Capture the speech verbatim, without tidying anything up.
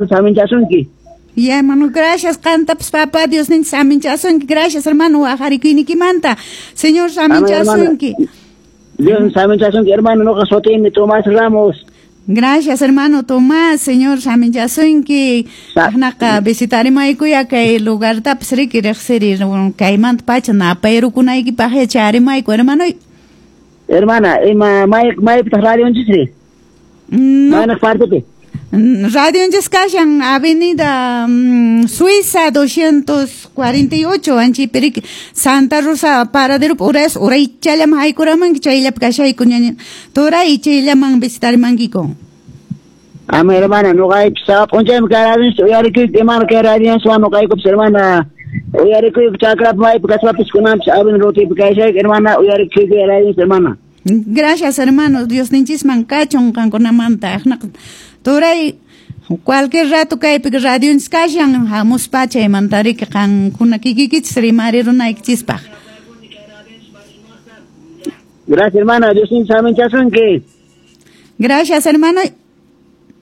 Saminchasunki. Ya, hermano, gracias, qantapas papá Diosninchis saminchasunki. Gracias, hermano, waqarikuynikimanta. Señor saminchasunki. Dios saminchasunki, hermano, noqa sutiymi Tomás Ramos. Gracias, hermano Tomás, Señor saminchasunki. Aqnaqa visitarimaykuya kay lugartapas riki riqsiri kaymanta pacha napayrukunaykipaq yacharimayku, hermano. Hermana, ima may maypitaq radionchisri? No. Mayna partepi? Radionchis kashan Avenida mm, Suiza doscientos cuarenta y ocho, anchaypi riki Santa Rosa paradero uras uraychallaman haykuramanki chayllapi kashayku ñaña turay chayllaman visitarimankiku. Ama hermana, noqaypis sapa p'unchaymi kay radionchis uyarikuyku, imana kay radionchiswan noqaykupis hermana uyarikuyku chakrapi maypi kaspapis kunanpis Avenida Rutipi kashayku, hermana, uyarikuyku radionchis, hermana. Gracias, hermano, Diosninchisman kachun qankunamanta. Aqnaqa turay cualquier rato kaypi radionchis kashan hamuspa chaymanta riki qankuna kikikichis rimarirunaykichispaq. Gracias, hermana, Diosninchis saminchasunki. Gracias, hermano.